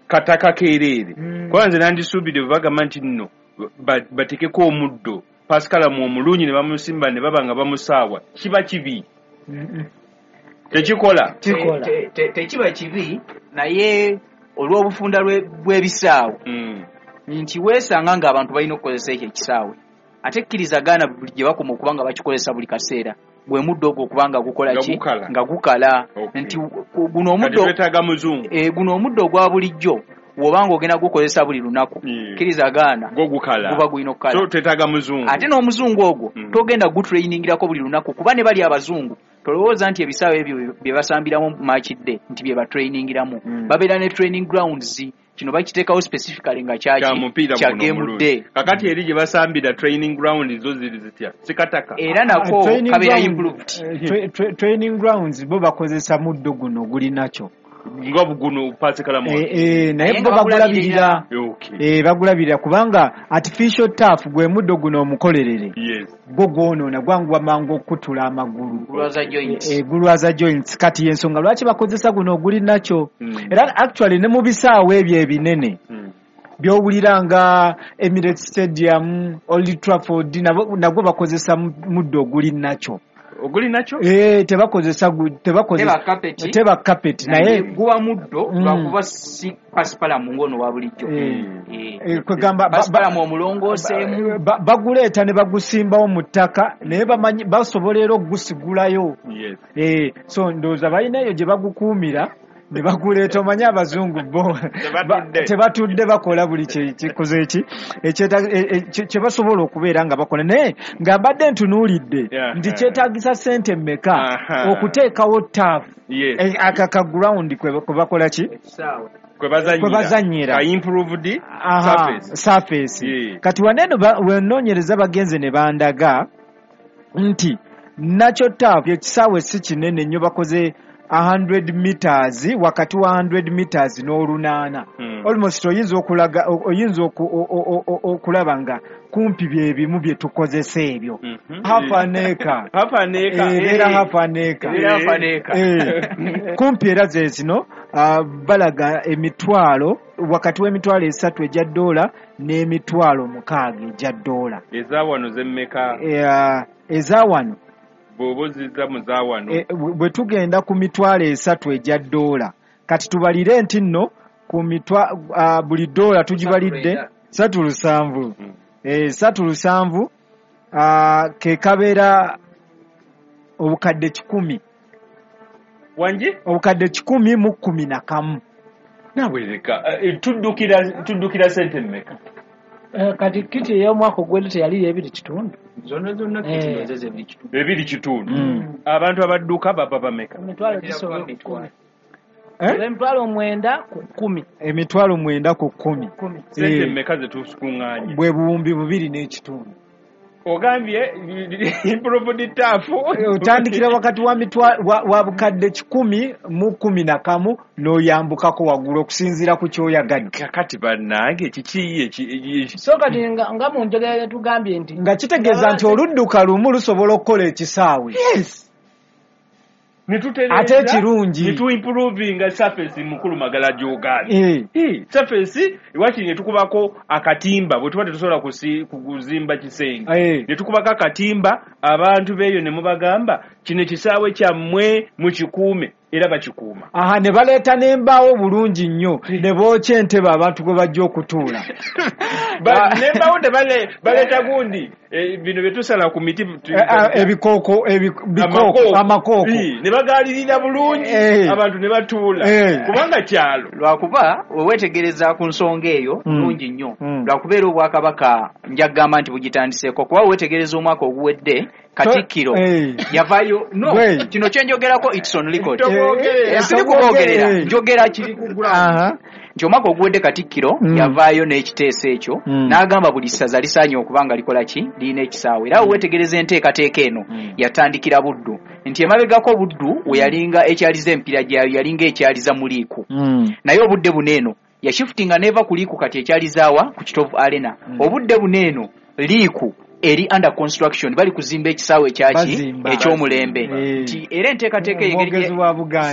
Kataka keereere. Kuba nze nandisuubidde bwe bagamba nti nno batekeko omuddo pasikalamu omulungi ne bamusimba ne baba nga bamusaawa, kiba kibi. Tekikola. Tekiba kibi, naye olw'obufunda bw'ebisaawe nti weesanga ng'abantu balina okukozesa ekyo ekisaawe, ate kkiriza gaana buli gye bakoma okuba nga bakikozesa buli kaseera, gwe muddo ogwo okuba nga gukola ki? Nga gukala. Nti guno omuddo guno omuddo ogwa bulijjo bw'obanga ogenda gukozesa buli lunaku, kkiriza gaana guba gulina okukala. So twetaaga muzungu. Ate n'omuzungu ogwo togenda gutrainingirako buli lunaku, kuba ne bali abazungu tolowooza nti ebisaawe ebyo bye basambiramu match day nti bye batrainingiramu. Babeera ne training grounds. Kino bakiteekawo specifically nga kya kya game day. Kakati eri gye basambira training ground zo ziri zitya? Sikataka. Era nako kabeera improved. Training grounds bo bakozesa muddo guno guli nakyo nga guno pasikalamu. Naye bo bagulabirira. Bagulabirira kubanga artificial turf gwe muddo guno omukolerere. Gwo gwonoona gwanguwa mangu okukutula amagulu. Gulwaza joints. Kati y'ensonga lwaki bakozesa guno oguli nakyo. Era actually ne mu bisaawe ebyo ebinene by'owulira nga Emirates Stadium, Old Trafford, nagwo bakozesa muddo oguli nakyo. Oguli nakyo? Tebakozesa teba carpet, naye guba muddo lwakuba si pasipalamu ng'ono wa bulijjo. Kwegamba pasipalamu omulongooseemu. Baguleeta ne bagusimbawo mu ttaka, naye basobola era okugusigulayo. So ndowooza balina eyo gye bagukuumira ne baguleeta. Omanyi abazungu bo tebatudde, bakola buli kikoze eki kye basobola okubeera nga bakola. Naye nga mbadde ntunuulidde nti kyetaagisa ssente mmeka okuteekawo turf aka ground kwe bakola ki, kwe bazannyira improved surface. Kati waneeno wenoonyereza bagenze ne bandaga nti nakyo turf ekisaawe si kinene nnyo, bakoze 100 meters, wakati wa 100 meters n'olunaana. Almost oyinza okulaga, oyinza okulaba nga kumpi bye bimu bye tukozesa ebyo. Half an acre. Half an acre. Ebeera half an acre. Half an acre. Kumpi era ze zino balaga emitwalo wakati w'emitwalo 3 egya dola n'emitwalo 6 egya dola. Eza wano zemmeka? Eza wano bw'oba muzawano bwe tugenda ku mitwalo 3 egya dola, kati tubalire nti nno ku buli dola tugibalidde 3.7. 3.7 ke kabeera obukadde 100. Wangi? Obukadde 111. Naawe leka tuddukira sente mmeka? Kati kiti ey'omwaka ogwedde teyali 2.5. Zonna zonna kiti zeze 2.5. 2.5. Abantu abadduka baba bameka? Emitwalo gisoba 10. Emitwalo 9 ku 10. Emitwalo 9 ku 10. Sente mmeka ze tukuŋŋaanya? Bwe buwumbi 2.5. Ogambye improved turf otandikira wakati wa wa bukadde 111 n'oyambukako waggulu okusinziira ku ky'oyagadde. Kakati bannange kiki eki? So kati nga mu njogera tugambye nti nga kitegeeza nti oludduka lumu lusobola okukola ekisaawe. Yes. Ate ekirungi ne improvinga surface mukulu Magala gy'ogambye. Surface wakiri ne tukubako akatimba bwe tuba tetusobola kuzimba kisenge. Ne tukubako akatimba abantu beeyo ne mubagamba kino ekisaawe kyammwe mukikuume, era bakikuuma. Aha, ne baleeta n'embaawo bulungi nnyo ne bookya entebe abantu gwe bajja okutuula. N'embaawo baleeta gundi bino bye tusala ku miti ebikooko amakooko ne bagaalirira bulungi abantu ne batuula kubanga kyalo. Lwakuba weweetegereza ku nsonga eyo nnungi nnyo, lwakubeera obwakabaka nja kugamba nti bugitandiseeko, kuba weweetegereza omwaka oguwedde Katikkiro yavaayo. No, kino kye njogerako it's on record. Siri kuboogerera, njogera kiri ku ground. Nti omwaka oguwedde Katikkiro yavaayo n'ekiteeso ekyo n'agamba buli ssaza lisaanye okuba nga likola ki, lirina ekisaawe. Era weetegereza enteekateeka eno yatandikira Buddu, nti emabegako Buddu we yalinga ekyaliza empiira gyayo yalinga ekyaliza mu liiku. Naye obudde buno eno yashifutinga n'eva ku liiku kati ekyalizaawa ku Kitovu Arena. Obudde buno eno liiku eri under construction, bali kuzimba ekisaawe ekyaki eky'omulembe. Nti era enteekateeka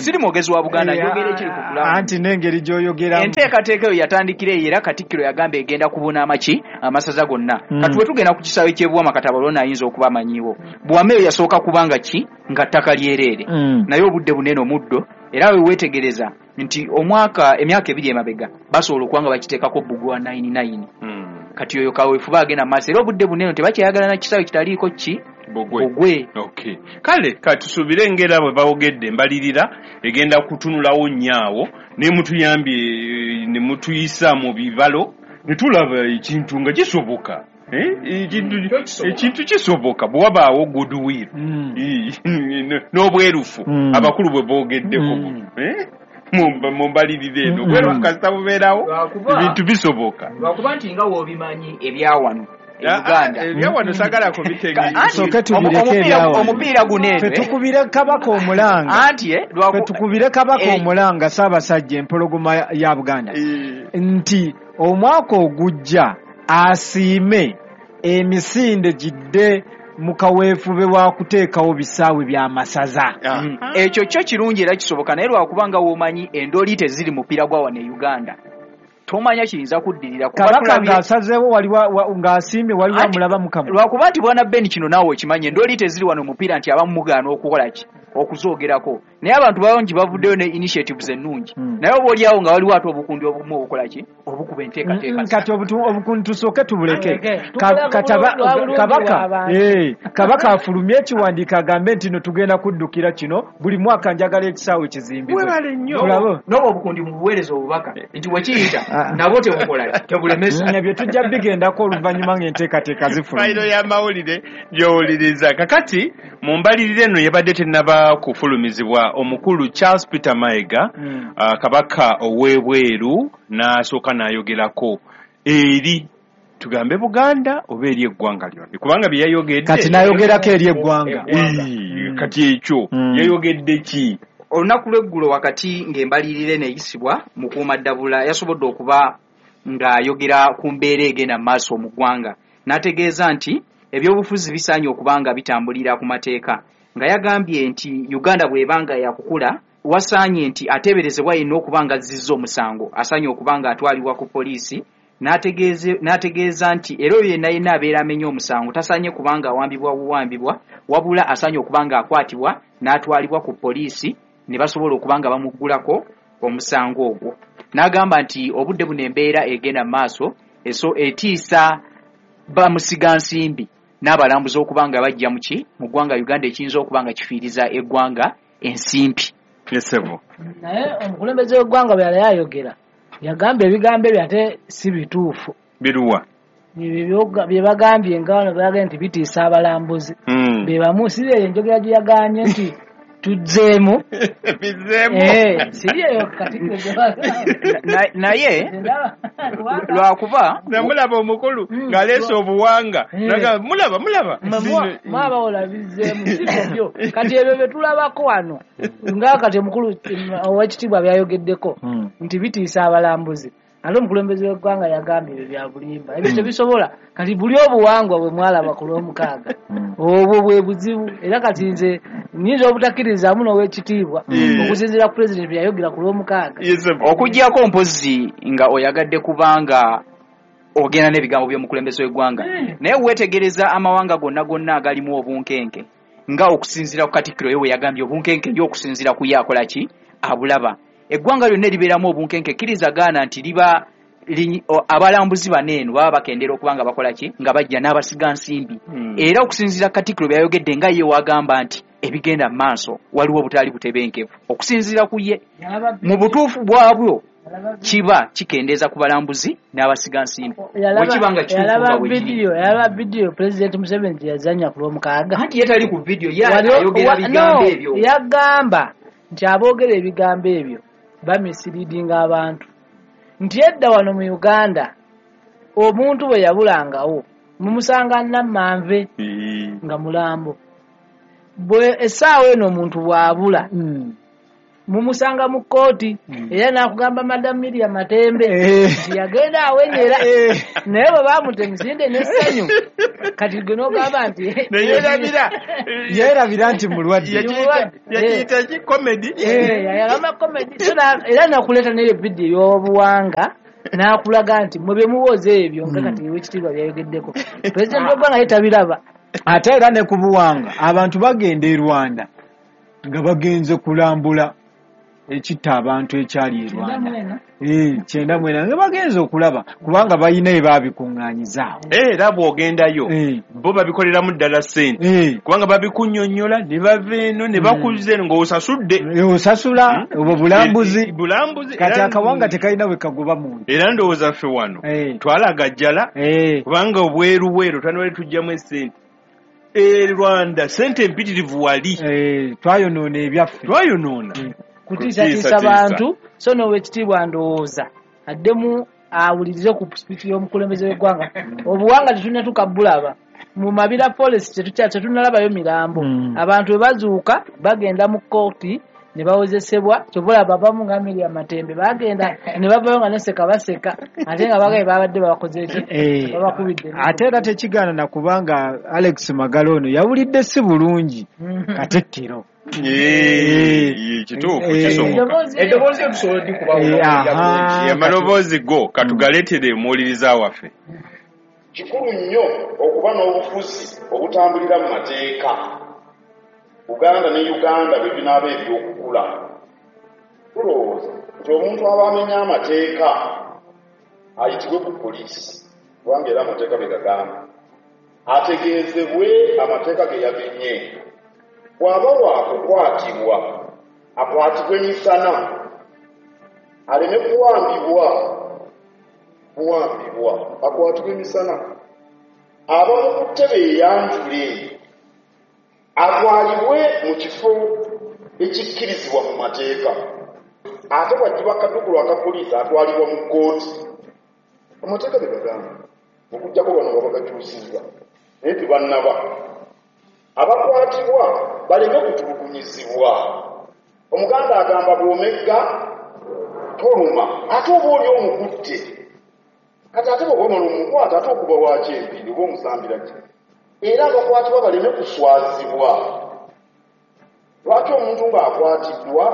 siri mwogezi wa Buganda, njogera ekiri ku kulamu anti n'engeri gy'oyogeramu. Enteekateeka eyo yatandikira eyo, era Katikkiro yagamba egenda kubuna amaki amasaza gonna. Kati bwe tugenda ku kisaawe ky'e Buwama, kati abalona ayinza okuba amanyiiwo. Buwama eyo yasooka kubanga ki nga ttaka lyereere, naye obudde bunene omuddo, era we weetegereza nti omwaka emyaka 2 emabega basobola okuba nga bakiteekako bbugwe wa 99. Kati oyo kaweefube agenda mu maaso, era obudde bunene tebakyayagala na kisaawe kitaliiko ki bugwe. Okay. Kale katusuubire engeri bwe bawogedde embalirira egenda kutunulawo nnyo ne mutuyambye ne mutuyisa mu bibalo ne tulaba ekintu nga kisoboka. Ekintu kisoboka bwe wabaawo goodwill n'obwerufu abakulu bwe boogeddeko mu mbalirira eno, obwerufu kasita bubeerawo ebintu bisoboka. Lwakuba nti nga w'obimanyi ebyawano Uganda ebyawano sagala kubitegeera. Omupiira guno eno tukubire Kabaka omulanga, anti tukubire Kabaka omulanga Ssaabasajja empologoma ya Buganda nti omwaka ogujja asiime emisinde gidde mu kaweefube wa kuteekawo bisaawe by'amasaza. Ekyo kyo kirungi era kisoboka, naye lwakubanga w'omanyi endoli teziri mupiira gwa wano e Uganda, tomanya kiyinza kuddirira. Kabaka ng'asazeewo ng'asiimye waliwo amulaba mukama. Lwakuba nti bwana Ben kino naawe okimanyi, endoli teziri wano mupiira nti abamu mugaana okukola ki okuzoogerako, naye abantu bangi bavuddeyo ne initiatives ennungi, naye oba oliawo nga waliwo ate obukundi obumu obukola ki obukuba enteekateeka. Kati obukundi tusooke tubuleke. Kabaka afulumye ekiwandiiko agambe nti no tugenda kuddukira kino buli mwaka njagala ekisaawe kizimbibwe. N'obwo obukundi mubuweereza obubaka nti wekiyita nabo tebukola tebulemesa. Ebyo tujja bigendako oluvannyuma ng'enteekateeka zifulumye. Fayiro y'amawulire gy'owuliriza. Kakati mu mbalirira eno yabadde tennaba kufulumizibwa, omukulu Charles Peter Mayiga kabaka ow'ebweru n'asooka n'ayogerako eri tugambe Buganda oba eri eggwanga lyonna, kubanga bye yayogedde kati n'ayogerako eri eggwanga. Kati ekyo yayogedde ki? Olunaku lw'eggulo wakati ng'embalirira eno eyisibwa, Mukuumaddabula yasobodde okuba ng'ayogera ku mbeera egenda mu maaso mu ggwanga, n'ategeeza nti ebyobufuzi bisaanye okuba nga bitambulira ku mateeka, nga yagambye nti Uganda bw'ebanga yakukula wasaanye nti ateeberezebwa yenna okuba nga azzizza omusango asaanye okuba nga atwalibwa ku poliisi, n'ategeeza nti era oyo yenna yenna abeera amenye omusango tasaanye kubanga awambibwa buwambibwa, wabula asaanye okuba nga akwatibwa n'atwalibwa ku poliisi ne basobola okuba nga bamuggulako omusango ogwo. N'agamba nti obudde buno embeera egenda mu maaso eso etiisa bamusigansimbi n'abalambuzi okuba nga bajja muki mu ggwanga Uganda, ekiyinza okuba nga kifiiriza eggwanga ensimbi. Naye omukulembeze w'eggwanga bwe yali ayogera yagamba ebigambo ebyo ate si bituufu. Biruwa? Bye bagambye nga wano bagambye nti bitiisa abalambuzi. Be bamu si eyo enjogera gye yagambye nti tuzzeemu. Bizzeemu. Si eyo Katikkiro gye naye lwakuba namulaba omukulu ng'aleese obuwanga mulaba mulaba mwabawola bizzeemu si byo. Kati ebyo bye tulabako wano nga kati omukulu ow'ekitiibwa byayogeddeko nti bitiisa abalambuzi, ate omukulembeze w'eggwanga yagambye ebyo bya bulimba, ebyo tebisobola. Kati buli obuwangwa bwe mwalaba ku Lwomukaaga obwo bwe buzibu, era kati nze nnyinza obutakkiririzaamu n'ow'ekitiibwa okusinziira ku pulezidenti bye yayogera ku Lwomukaaga. Okuggyako mpozzi nga oyagadde kubanga ogenda n'ebigambo by'omukulembeze w'eggwanga, naye weetegereza amawanga gonna gonna agalimu obunkenke nga okusinziira ku Katikkiro ye we yagambye obunkenke ye okusinziira ku ye akola ki abulaba. Eggwanga lyonna eribeeramu obunkenke kkiriza gaana nti liba abalambuzi bano eno baba bakendera okuba nga bakola ki nga bajja n'abasiga nsimbi. Era okusinziira Katikkiro byayogedde nga ye wagamba nti ebigenda mu maaso waliwo obutali butebenkevu, okusinziira ku ye mu butuufu bwabwo kiba kikendeeza ku balambuzi n'abasiga nsimbi. Bwe nga kituufu nga bwe kiri. Yalaba vidiyo Pulezidenti Museveni gye yazannya ku Lwomukaaga. Anti ye tali ku vidiyo, ye ayogera bigambo ebyo. Yagamba nti aboogera ebigambo ebyo bamisiriidinga abantu, nti edda wano mu Uganda omuntu bwe yabulangawo mumusanga Nammanve nga mulambo, bwe essaawa eno omuntu bw'abula Mumusanga mu kkooti era n'akugamba Madam Miriam Matembe nti yagenda awenyera, naye bwe bamuta emisinde n'essanyu, kati gwe n'ogamba nti yeerabira nti mulwadde. Yakiyita ki, comedy? Yagamba comedy. Era nakuleeta n'eyo vidiyo y'obuwanga n'akulaga nti mwe bye muwoza ebyo nga kati owekitiibwa byayogeddeko, pulezidenti w'eggwanga ye tabiraba. Ate era ne ku buwanga abantu bagenda e Rwanda nga bagenze kulambula ekitta abantu ekyali e Rwanda 94 nga bagenze okulaba, kubanga balina ebabikuŋŋaanyizaawo. Era bw'ogendayo bo babikoleramu ddala ssente, kubanga babikunnyonnyola ne bava eno ne bakuzza eno ng'osasudde. Osasula obwo bulambuzi. Kati akawanga tekalina we kagoba muntu. Era ndowooza ffe wano twalagajjala, kubanga obweruweru twandibadde tuggyamu essente. E Rwanda ssente empitirivu wali. Twayonoona ebyaffe. Twayonoona. Kutiisatiisa bantu. So n'owekitiibwa ndowooza addemu awulirize ku speech y'omukulembeze w'eggwanga. Obuwanga tetunnatuuka bulaba mu Mabira Forest, tetunnalabayo mirambo. Abantu bwe bazuuka bagenda mu kkooti ne bawozesebwa. Kyova olaba abamu nga Miriam Matembe bagenda ne bavayo nga neseka baseka, ate nga bagaye babadde babakoze ki, babakubidde. Ate era tekigaana na kubanga Alex Magala ono yawulidde si bulungi Katikkiro. Kituufu kisoboka. Eddoboozi tusobola dikuba amaloboozi go katugaleetere omuwuliriza waffe. Kikulu nnyo okuba n'obufuzi obutambulira mu mateeka. Uganda ne Uganda bwe binaaba eby'okukula. Tulowooza nti omuntu aba amenya amateeka ayitibwe ku poliisi, kubanga era amateeka bwe gagamba, ategeezebwe amateeka ge yamenye. Bw'aba waakukwatibwa akwatibwe misana, aleme kuwambibwa buwambibwa, akwatibwe misana. Abamukutte beeyanjule, atwalibwe mu kifo ekikkirizibwa mu mateeka. Ate bw'aggyibwa akaduukulu aka poliisi atwalibwa mu kkooti. Amateeka bwe gagamba, okuggyako bano baba bagakyusizza, naye tebannaba. Abakwatibwa baleme kutulugunyizibwa. Omuganda agamba bw'omegga toluma, ate oba oli omukutte. Kati ate bw'oba omala omukwata ate okuba waaki empindi oba omusambira ki? Era abakwatibwa baleme kuswazibwa. Lwaki omuntu ng'akwatiddwa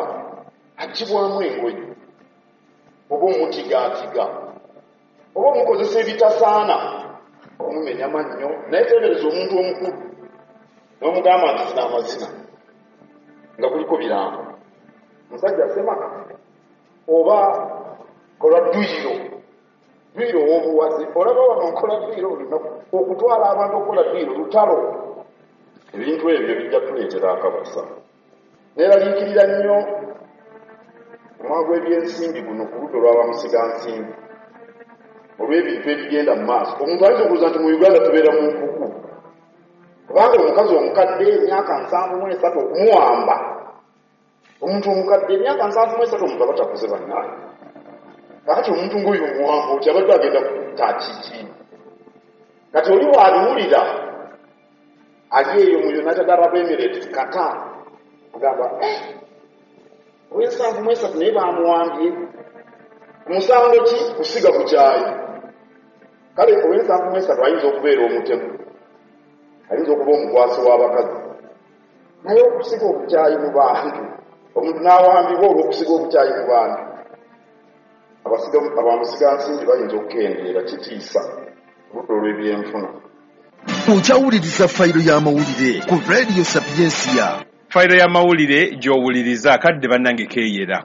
aggyibwamu engoye oba omutigaatiga oba omukozesa ebitasaana, omumenya mannyo? Naye teebereza omuntu omukulu n'omugamba nti zina amazina nga kuliko birango, musajja semaka oba kola dduyiro, dduyiro ow'obuwaze. Olaba wano nkola dduyiro olunaku, okutwala abantu okukola dduyiro lutalo. Ebintu ebyo bijja kuleetera akabasa. Neeraliikirira nnyo omwaka gw'ebyensimbi guno ku ludda olw'abamusigansimbi olw'ebintu ebigenda mu maaso. Omuntu ayinza okulowooza nti mu Uganda tubeera mu nkuku, kubanga omukazi omukadde emyaka 73 okumuwamba. Omuntu omukadde emyaka 73 omuntu aba takuze bannange. Kakati omuntu ng'oyo omuwamba oti abadde agenda kutta kiki? Kati oli bw'abiwulira ali eyo mu United Arab Emirates, Qatar, agamba owe73 naye bamuwambye. Musango ki? Kusiga bukyayi. Kale owe73 ayinza okubeera omutemu, ayinza okuba omukwasi w'abakazi, naye okusiga obukyayi mu bantu, omuntu n'awambibwa olw'okusiga obukyayi mu bantu, abamusigansimbi bayinza okukendeera. Kitiisa oludda olw'ebyenfuna. Okyawuliriza fayiro y'amawulire ku Radio Sapiensia. Fayiro y'amawulire gy'owuliriza akadde bannange keeyera.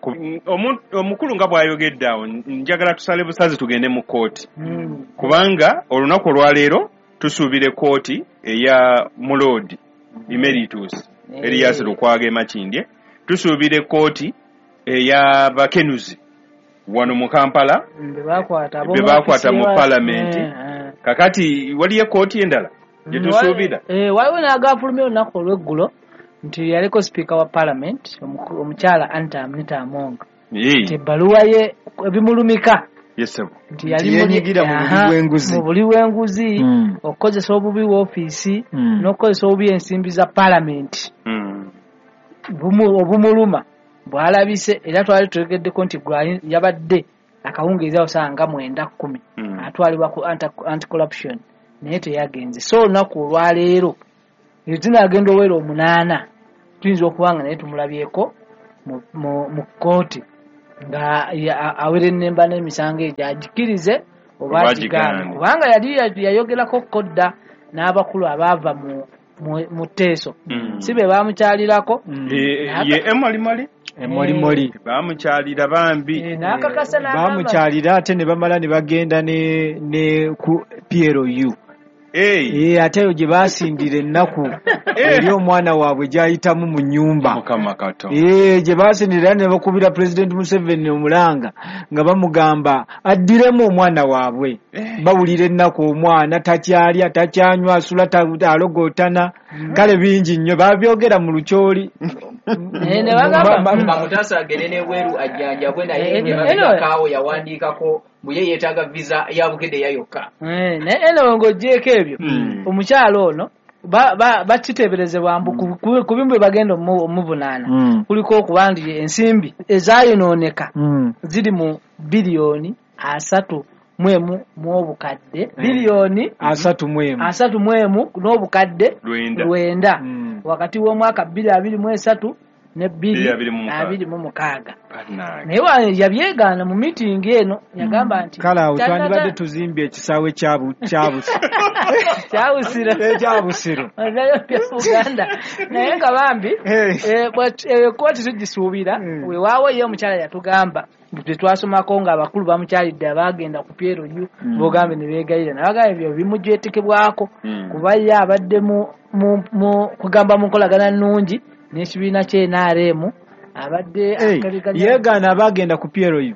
Omukulu nga bw'ayogedde awo, njagala tusale busazi tugende mu kkooti, kubanga olunaku olwaleero tusuubira ekkooti eya Muloodi Emeritus Erias Lukwago e Makindye, tusuubira ekkooti eya Bakenuzi wano mu Kampala be baakwata mu palamenti. Kakati waliyo ekkooti endala gye tusuubira. Waliwo n'agafulumya olunaku olw'eggulo nti yaliko sipiika wa palamenti omukyala Anita Among, nti ebbaluwa ye ebimulumika nti yenyigira mu buli bw'enguzi, okukozesa obubi woofiisi n'okukozesa obubi ensimbi za palamenti obumuluma. bw'alabise era twali twegeddeko nti yabadde akawungeezi awo ssaawa nga 9:10 atwalibwa ku anti-corruption naye teyagenze. So olunaku olwaleero zinaagenda owera 8 tuyinza okuba nga naye tumulabyeko mu kkooti nga awerennemba n'emisango egyo agikirize oba agigaane, kubanga yali yayogerako kodda n'abakulu abaava mu tteeso si be baamukyalirako ye emolimoli emolimoli baamukyalira bambi n'akakasa baamukyalira ate ne bamala ne bagenda ne ku PLU ate eyo gye baasindira ennaku eri omwana waabwe gy'ayitamu mu nnyumba gye baasindira ne bakubira Pulezidenti Museveni omulanga nga bamugamba addiremu omwana waabwe. Bawulira ennaku omwana takyalya takyanywa asula alogootana kale bingi nnyo babyogera mu lukyoli. Bamutaasa agende n'ebweru ajjanjabwe naye emabegakaawo yawandiikako mbu ye yeetaaga visa ya Bukedea yokka. Naye eno ng'oggyeeko ebyo omukyalo ono bakiteeberezebwa mbu ku bimu bye bagenda omuvunaana kuliko okuba nti ensimbi ezaayonooneka ziri mu biliyoni 31 n'obukadde biliyoni 31 n'obukadde 9 wakati w'omwaka 2023 ne 2026. Naye yabyegaana mu miitingi eno yagamba nti kale awo twandibadde tuzimbye ekisaawe kyabusiro Uganda naye nga bambi ekkooti tugisuubira. Weewaawo ye omukyala yatugamba tetwasomako nga abakulu bamukyalidde abaagenda ku PLU bogambe ne beegayirira nabagamba ebyo bimujwetekebwako kuba ye abadde mu kugamba mu nkolagana nnungi n'ekibiina kye NRM abadde yeegaana abaagenda ku PLU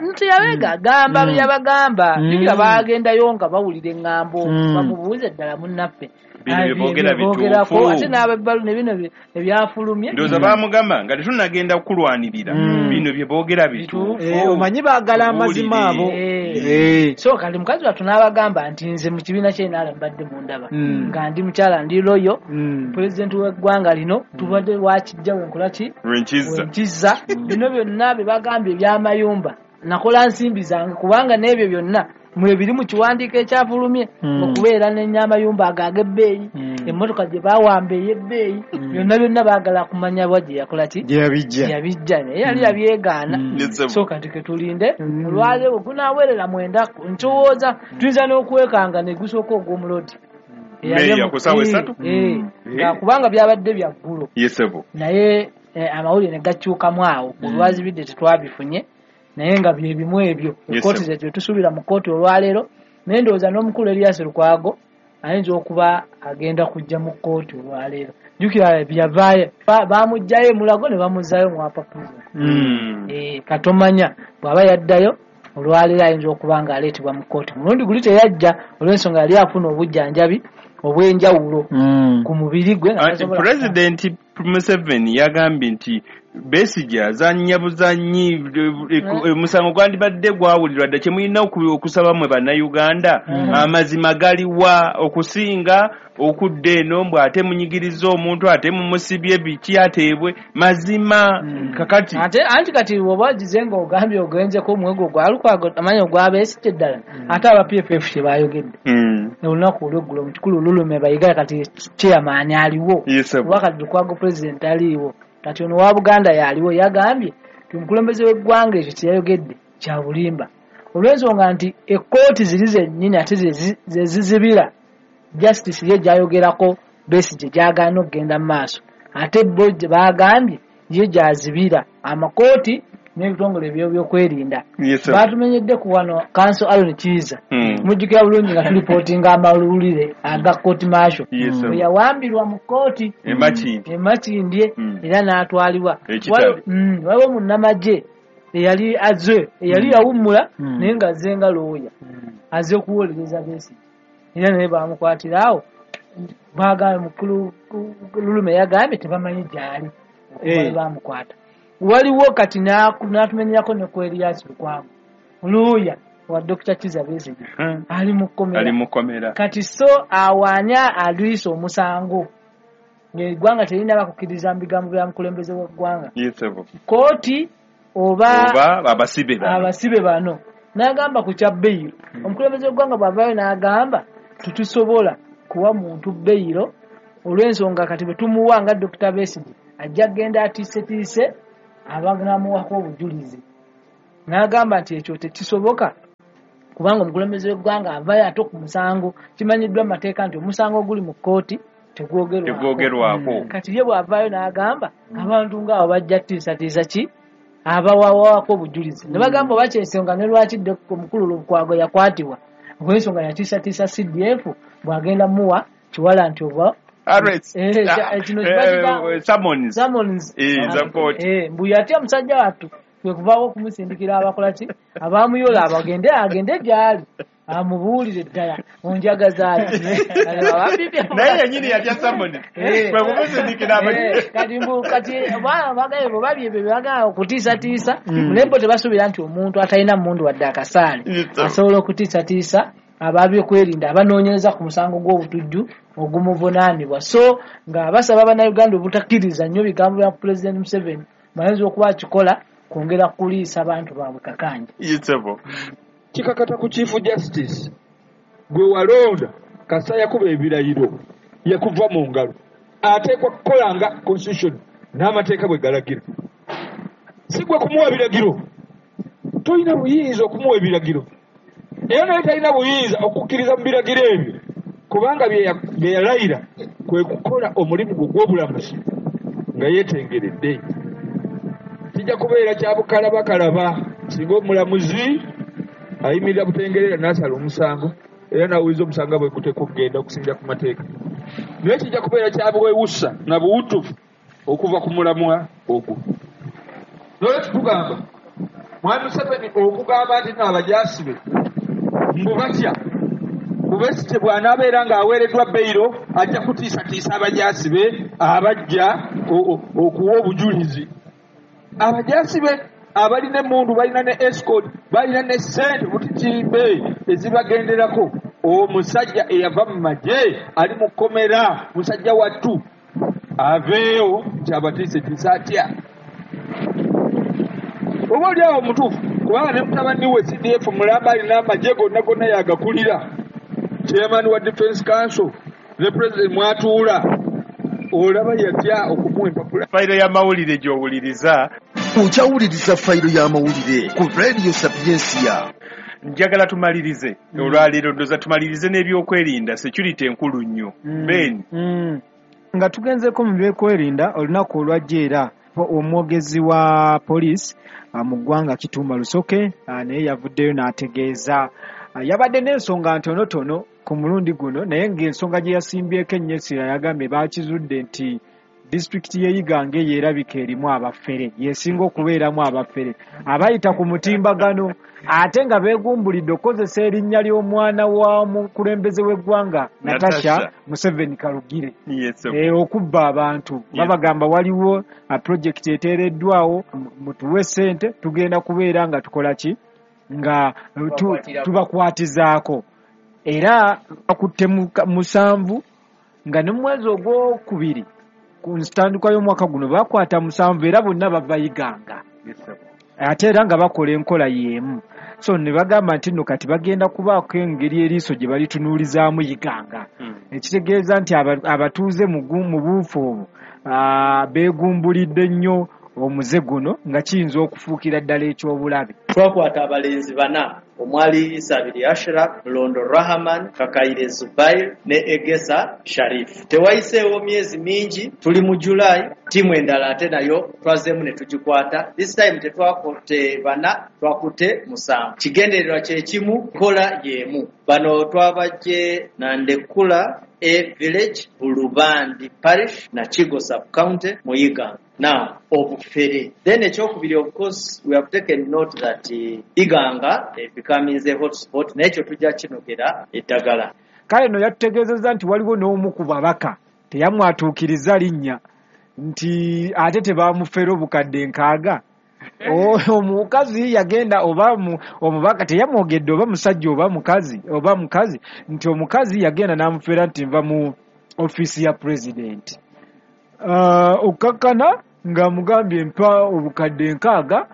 nti yabeega gamba yabagamba jjukira baagendayo nga bawulira eŋŋambo bamubuuze ddala munnaffe byogerako ate n'abebbalu ne bino ebyafulumye ndowooza baamugamba nga tetunnagenda kukulwanirira bino bye boogera bituufu omanyi baagala amazima abo. So kati mukazi wattu n'abagamba nti nze mu kibiina kye NRM mbadde mundaba nga ndi mukyala ndi loyo pulezidenti w'eggwanga lino tubadde wakijja wenkola ki wenkizza bino byonna bye bagambye eby'amayumba nakola nsimbi zange kubanga n'ebyo byonna mwebiri mu kiwandiiko ekyafulumye okubeera n'enyamayumba ago ag'ebbeeyi emmotoka gye bawamba ey'ebbeeyi byonna byonna baagala kumanya bwa gye yakola ki gye yabijja naye yali yabyegaana. So kati ke tulinde olwaleero gunaawerera 9 ntowooza tuyinza n'okwekanga ne gusooka ogw'omulodi kubanga byabadde bya ggulo naye amawulire ne gakyukamu awo olwazibidde tetwabifunye naye nga bye bimu ebyo ekkooti ze tusuubira mu kkooti olwaleero. Naye ndowooza n'omukulu Erias Lukwago ayinza okuba agenda kujja mu kkooti olwaleero. Jjukira byavaayo bamuggyayo Mulago ne bamuzzaayo mu Upper Prison. Katomanya bw'aba yaddayo olwaleero ayinza okuba ng'aleetebwa mu kkooti. Mulundi guli teyajja olw'ensonga yali afuna obujjanjabi obw'enjawulo ku mubiri gwe. Pulezidenti Museveni yagambye nti Besigye azannya buzannyi omusango gwandibadde gwawulirwa dda kye mulina okusaba mmwe bannayuganda amazima galiwa okusinga okudda eno mbw ate munyigiriza omuntu ate mumusibye biki ateebwe mazima kakati ate anti kati oba ogize nga ogambye ogenzeko omuwego gwa Lukwago amanya ogwa Besigye ddala ate aba PFF kye baayogedde olunaku olweggulo mu kikulu Lulume Bayiga kati chairman aliwo oba kati Lukwago president aliwo kati ono wa Buganda yaliwo yagambye nti omukulembeze w'eggwanga ekyo kye yayogedde kya bulimba olw'ensonga nti ekkooti ziri zennyini ate ze zizibira justice ye gy'ayogerako Besigye gy'agaana okugenda mu maaso ate bo baagambye ye gy'azibira amakooti n'ebitongole ebyokwerinda. Baatumenyedde ku wano Counsel Aaron Kiiza mujjukira bulungi nga tulipootinga amawulire aga kooti martial bwe yawambirwa mu kkooti e Makindye era n'atwalibwa. Waliwo munnamagye eyali azze eyali yawummula naye ng'azze nga looya azze okuwolereza Besigye era naye baamukwatira awo baagambye mukulu Lulume yagambye tebamanyi gy'ali bamukwata. Waliwo kati n'atumenyerako ne ku Erias Lukwago looya wa Dr. Kizza Besigye ali mu kkomera. Kati so awaanya alwisa omusango Ng'eggwanga terinaba kukkiriza mu bigambo bya mukulembeze w'eggwanga. Kooti oba abasibe bano. N'agamba ku kya beyiro. Omukulembeze w'eggwanga bw'avaayo n'agamba tetusobola kuwa muntu beyiro olw'ensonga kati bwe tumuwa nga Dr. Besigye ajja kugenda atiisetiise abanamuwako obujulizi. N'agamba nti ekyo tekisoboka kubanga omukulembeze w'eggwanga avaayo ate ku musango kimanyiddwa mu mateeka nti omusango oguli mu kkooti tegwogerwako. Kati ye bw'avaayo n'agamba abantu ng'abo bajja tiisatiisa ki abawawako obujulizi. Ne bagamba oba kyensonga ne lwaki omukulu Lukwago yakwatibwa olw'ensonga yatiisatiisa CDF bw'agenda muwa kiwala nti oba summons. Mbu yatya musajja wattu kwe kuvaawo okumusindikira abakola ki abamuyola abagende agende gy'ali amubuulire ddala onjagaza ati naye yennyini yatya summons kwe kumusindikira kati mbu kati bagaye bwe babye ebyo byebagala okutiisatiisa naye bo tebasuubira nti omuntu atalina mmundu wadde akasaale asobola okutiisatiisa ababyokwerinda abanoonyereza ku musango gw'obutujju ogumuvunaanibwa. So nga basaba bannayuganda obutakkiriza nnyo bigambo bya Pulezidenti Museveni bayinza okuba akikola kwongera kuliisa abantu baabwe kakanja. Kikakata ku Chief Justice gwe walonda kasa yakuba ebirayiro yakuva mu ngalo ateekwa kukola nga constitution n'amateeka bwe galagira. Si gwe kumuwa biragiro, tolina buyinza okumuwa ebiragiro era naye talina buyinza okukkiriza mu biragiro ebyo kubanga bye yalayira kwe kukola omulimu gwe gw'obulamuzi nga yeetengeredde. Kijja kubeera kya bukalabakalaba singa omulamuzi ayimirira butengerera n'asala omusango era n'awuliza omusango bwe guteekwa okugenda okusinziira ku mateeka. Naye kijja kubeera kya bwewusa na buwutufu okuva ku mulamwa ogwo. Nolwekyo tugamba Mwami Museveni okugamba nti nno abajaasi be mbu batya Besigye bw'anaabeera ng'aweereddwa beyiro ajja kutiisatiisa abajaasi be abajja okuwa obujulizi. Abajaasi be abalina emmundu balina ne escort balina ne ssente butitimbe ezibagenderako. Omusajja eyava mu magye ali mu kkomera musajja wattu aveeyo nti abatiisetiisa atya? Oba oli awo mutuufu kubanga ne mutabani we CDF mulamba alina amagye gonna gonna yagakulira chairman wa Defense Council ne president mwatuula olaba yatya okumuwa empapula. Fayiro y'amawulire gy'owuliriza. Okyawuliriza fayiro y'amawulire ku Radio Sapiensia. Njagala tumalirize olwaleero ndoza tumalirize n'ebyokwerinda security enkulu nnyo. Ben nga tugenzeko mu byokwerinda olunaku olwajja era omwogezi wa poliisi mu ggwanga Kitumba Lusoke naye yavuddeyo n'ategeeza yabadde n'ensonga ntonotono ku mulundi guno naye ng'ensonga gye yasimbyeko ennyo essira yagambye baakizudde nti disitulikiti y'e Iganga yeerabika erimu abafere yesinga okubeeramu abafere abayita ku mutimbagano ate nga beegumbulidde okukozesa erinnya ly'omwana wa mukulembeze w'eggwanga Natasha Museveni Karugire okubba abantu. Babagamba waliwo pulojekiti eteereddwawo mutuwe ssente tugenda kubeera nga tukola ki nga tubakwatizaako era bakutte 7 nga ne mu mwezi ogwokubiri ku ntandikwa y'omwaka guno bakwata 7 era bonna bava Iganga ate era nga bakola enkola y'emu. So ne bagamba nti nno kati bagenda kubaako engeri eriiso gye balitunuulizaamu Iganga ekitegeeza nti abatuuze mu buufu obwo beegumbulidde nnyo omuze guno nga kiyinza okufuukira ddala eky'obulabe. Twakwata abalenzi 4 omwali Isabiri Ashraf, Londo Rahman, Kakaire Zubair ne Egesa Sharif. Tewayiseewo myezi mingi, tuli mu July, ttiimu endala ate nayo twazeemu ne tugikwata. This time tetwakutte 4, twakutte 7. Kigendererwa kye kimu, nkola y'emu. Bano twabajje Nandekula A Village, Bulubandi Parish na Kigo Sub-County mu Iganga. Now, obufere. Then ekyokubiri, of course, we have taken note that Iganga becoming a hotspot, n'ekyo tujja kinogera eddagala. Kale no yatutegeezezza nti waliwo n'omu ku babaka teyamwatuukiriza linnya nti ate tebamufera obukadde 6. Omukazi yagenda oba omubaka teyamwogedde oba musajja oba mukazi nti omukazi yagenda n'amufera nti nva mu ofiisi ya pulezidenti. Okkakkana ng'amugambye mpa obukadde 60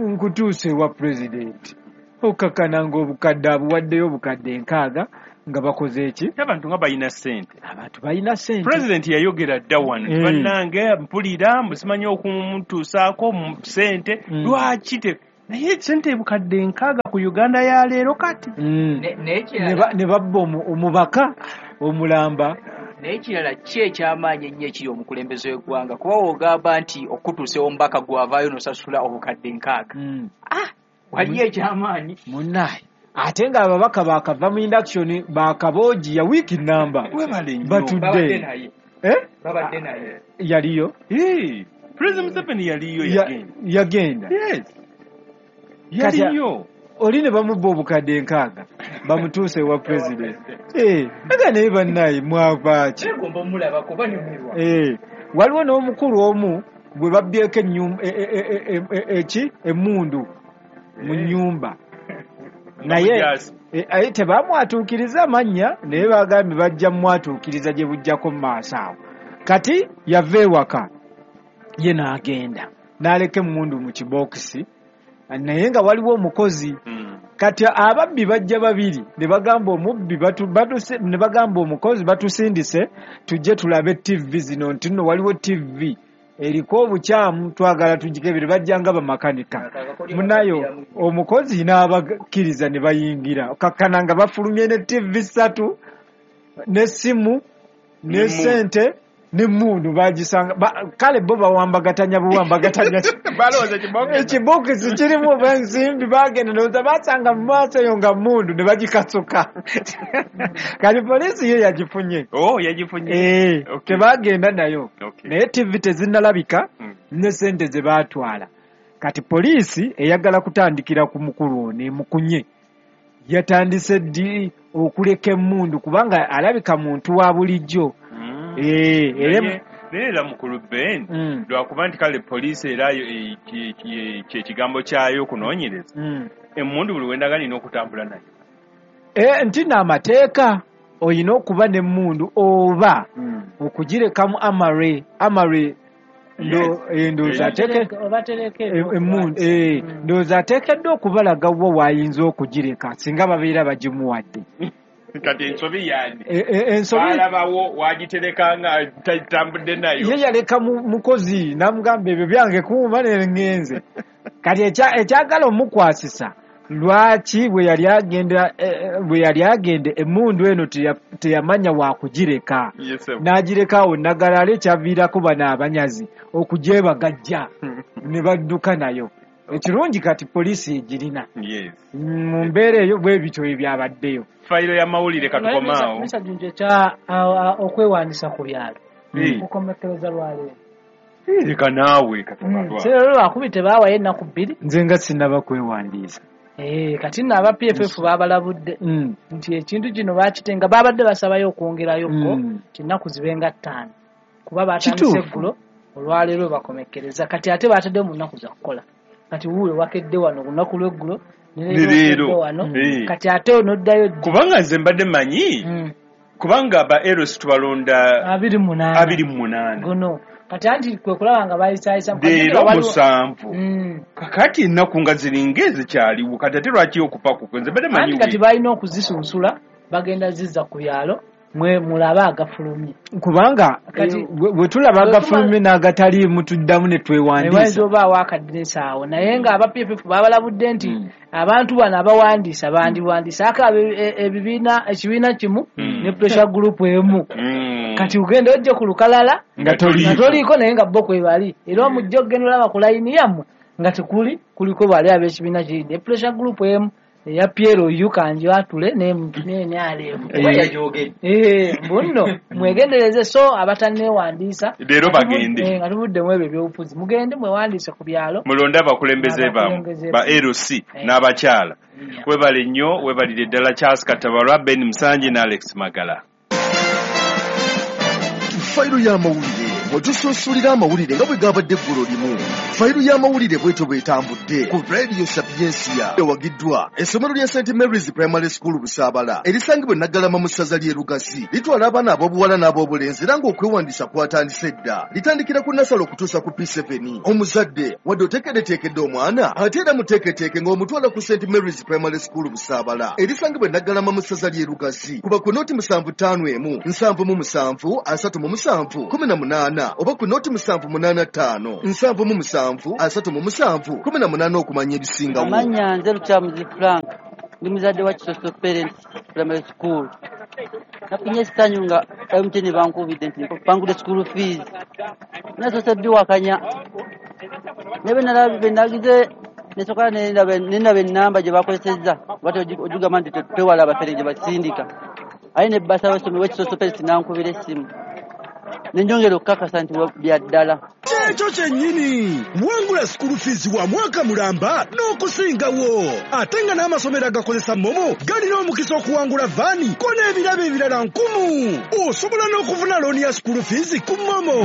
nkutuuse wa pulezidenti. Okkakkana ng'obukadde abuwaddeyo obukadde 60 nga bakoze eki? Abantu nga balina ssente. Abantu balina ssente. Pulezidenti yayogera dda wano bannange mpulira musimanyi okumutuusaako mu ssente lwaki naye ssente bukadde 60 ku Uganda ya leero kati ne babba omubaka omulamba. Naye ekirala ki ekyamaanyi ennyo ekiri omukulembeze w'eggwanga kuba w'ogamba nti okutuusa omubaka gw'avaayo n'osasula obukadde 60 waliyo ekyamaanyi munnaye. Ate nga ababaka baakava mu induction baakaboogi ya wiiki namba batudde babadde naye yaliyo President Museveni yaliyo yagenda yes yaliyo oli ne bamubba obukadde 60 bamutuuse ewa president aga naye bannaye mwavaaki waliwo n'omukulu omu gwe babbyeko emmundu mu nnyumba naye tebamwatuukiriza amannya naye bagambye bajja mwatuukiriza gye bujjako mu maaso awo. Kati yava ewaka ye n'agenda n'aleka emmundu mu kibookisi naye nga waliwo omukozi. Kati ababbi bajja babiri ne bagamba omubbi ne bagamba omukozi batusindise tujje tulabe TV zino nti nno waliwo TV eriko obukyamu twagala tugikebere. Bajja nga bamakanika munayo omukozi n'abakkiriza ne bayingira kakkana nga bafulumye ne TV 3 n'essimu ne ssente n'emmundu bagisanga kale bo bawambagatanya buwambagatanya ekibookisi kirimu ensimbi bagenda ndowooza basanga mu maaso eyo nga mmundu ne bagikasuka. Kati poliisi yo yagifunye yagifunye tebagenda nayo naye TV tezinnalabika ne ssente ze baatwala. Kati poliisi eyagala kutandikira ku mukulu ono emukunye yatandise ddi okuleka emmundu kubanga alabika muntu wa bulijjo. Era mukulu Ben lwakuba nti kale poliisi era kyekigambo kyayo okunoonyereza emmundu buli wendaga nina okutambula nayo nti n'amateeka oyina okuba n'emmundu oba okugirekamu amare ndowooza ateekeddwa okubalaga wo w'ayinza okugireka singa babeera bagimuwadde. Kati ensobi yani ensobi balabawo wagitereka nga tatambudde nayo ye yaleka mukozi n'amugamba ebyo byange kuuma ne ngenze. Kati ekyagala omukwasisa lwaki bwe yali agenda emmundu eno teyamanya wakugireka n'agireka awo Nnagalala ekyaviirako bano abanyazi okugyebagajja ne badduka nayo. Ekirungi kati poliisi egirina mu mbeera eyo bwe bityo ebyabaddeyo. Fayiro y'amawulire katukomaawo ekya okwewandiisa ku byalo kukomekkereza lwaleero. Leka naawe leero lwakubi tebaawayo ennaku 2 nze nga sinnaba kwewandiisa. Kati nno aba PFF baabalabudde nti ekintu kino bakitenga babadde basabayo okwongerayokko ennaku zibenga 5 kuba batandise eggulo olwaleero bakomekkereza. Kati ate bataddeyo mu nnaku za kukola. Kati wuuyo wakedde wano olunaku lw'eggulo ne leero wano kati ate onoddayo kubanga nze mbadde manyi kubanga ba Eros tubalonda 28 gono kati anti kwe kulaba nga bayisaayisa leero 7 kakati ennaku nga ziringa ezikyaliwo kati ate lwaki okupakuka nze mbadde manyi kati balina okuzisunsula bagenda zizza ku byalo mwe mulaba agafulumye kubanga bwe tulaba agafulumye n'agataliimu tuddamu ne twewandiisa wayinza obaawo akaddirisa awo. Naye nga aba PFF babalabudde nti abantu bano abawandiisa bandiwandiisa aka ebibiina ekibiina kimu ne pressure group emu. Kati ugenda ojje ku lukalala nga toliiko naye nga bo kwe bali era omujja ogenda olaba ku layini yammwe nga tekuli kuliko bali ab'ekibiina kiri ne pressure group emu eya Piero Yukanjo atule ne NRM mbunno mwegendereze so abatanneewandiisa leero bagende nga tuvuddemu ebyo ebyobufuzi mugende mwewandiise ku byalo mulonde abakulembeze bammwe ba LC n'abakyala. Webale nnyo webalire ddala Charles Katabalwa, Ben Musangi ne Alex Magala. Fayiro y'amawulire Mwe tusunsulira amawulire nga bwe gabadde eggulo limu. Fayiru y'amawulire bwetyo bw'etambudde ku Radio Sapiensia. Ewagiddwa essomero lya St Mary's Primary School Busaabala erisangibwa e Naggalama mu ssaza ly'e Lugazi. Litwala abaana ab'obuwala n'ab'obulenzi era ng'okwewandiisa kwatandise dda. Litandikira ku nasale okutuusa ku P7. Omuzadde wadde oteekeddeteekedde omwana, ate era muteeketeeke ng'omutwala ku St Mary's Primary School Busaabala erisangibwa e Naggalama mu ssaza ly'e Lugazi. Kuba ku noti 751 77 37 18 oba ku noti 785 77 37 18 okumanya ebisingawo. Amannya nze Lukyamuzi Frank, ndi muzadde wa Kisoso Parents Primary School. Nafunye essanyu nga MTN bankubidde nti bangudde school fees. Nasoose ddiwakanya naye bwe nagize nesooka nendaba ennamba gye bakozesezza oba ogigamba nti twewala abafere gye basindika, aye ne bbasa w'essomero w'Ekisoso Parents n'ankubira essimu nenjongera okukakasa nti bya ddala. Kyekyo kyennyini, wangula school fees wa mwaka mulamba n'okusingawo, ate nga n'amasomero agakozesa MoMo galina omukisa okuwangula vaani ko n'ebirabo ebirala 10. Osobola n'okufuna looni ya school fees ku MoMo.